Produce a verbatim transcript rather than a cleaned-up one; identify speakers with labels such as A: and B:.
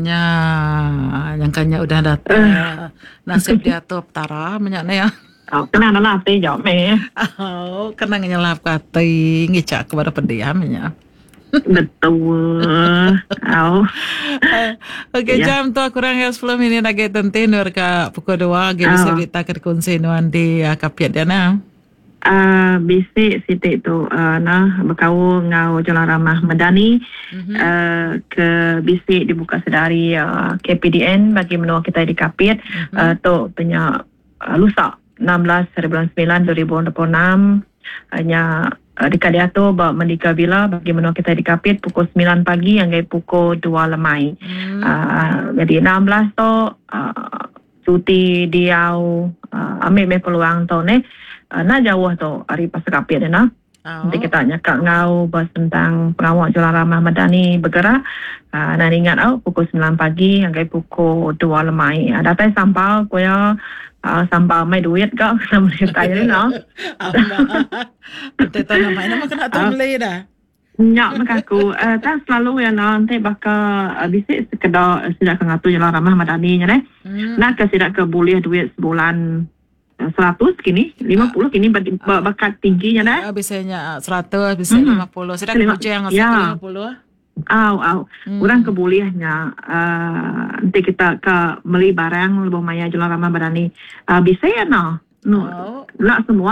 A: Nya, nyangka nya udah datai uh. Nasib diatur Petara menya ne ya.
B: Oh, kena nala ati jauh meh.
A: Oh, kena ngenyelap ke ati ngicak ke pada pediam nya.
B: Betul. Oh.
A: Okey, ya. Jam tu kurang ya sepuluh minit lagi tentu nur ke pukul dua lagi bisa berita ke kunci nuan di uh, Kapiat dia nah.
B: Uh, bisi siti tu uh, nah berkaul ngau Jalan Ramah Medani mm-hmm. uh, ke bisi dibuka sedari uh, K P D N bagi menua kita di Kapit mm-hmm. uh, tu punya uh, lusa enam belas hari bulan sembilan dua ribu dua puluh enam hanya uh, dekat diatur ba Mendika Villa bagi menua kita di Kapit pukul sembilan pagi hingga pukul dua lemai. Mm. Uh, jadi enam belas tu uh, cuti diau uh, ambil me peluang tu ne. Uh, nak jauh tu hari pasar Kapit ni nah. Oh. Nanti kita nyakak ngau bahas tentang pengawal Jalan Ramah Madani bergerak. Uh, dan ingat oh, pukul sembilan pagi hingga pukul dua lemai. Uh, datai sampal kuya uh, sampal mai duit kau sama dia ni noh.
A: Nanti tak nama nama kena tu beli dah.
B: Nyak mak aku uh, tak selalu ya nah nanti bakal uh, bisik sekedar sidak ke ngatur Jalan Ramah Madani nya neh. Hmm. Nak ke sidak ke boleh duit sebulan seratus kini, lima puluh kini bakat tingginya dah.
A: Biasanya seratus, bisa lima puluh. Sedang bujang lima puluh.
B: Au, au. Hmm. Orang kebolehnya uh, nanti kita ke beli barang lebih maya Jalan Ramah Madani. Uh, bisa ya no. No. Oh. Nak semua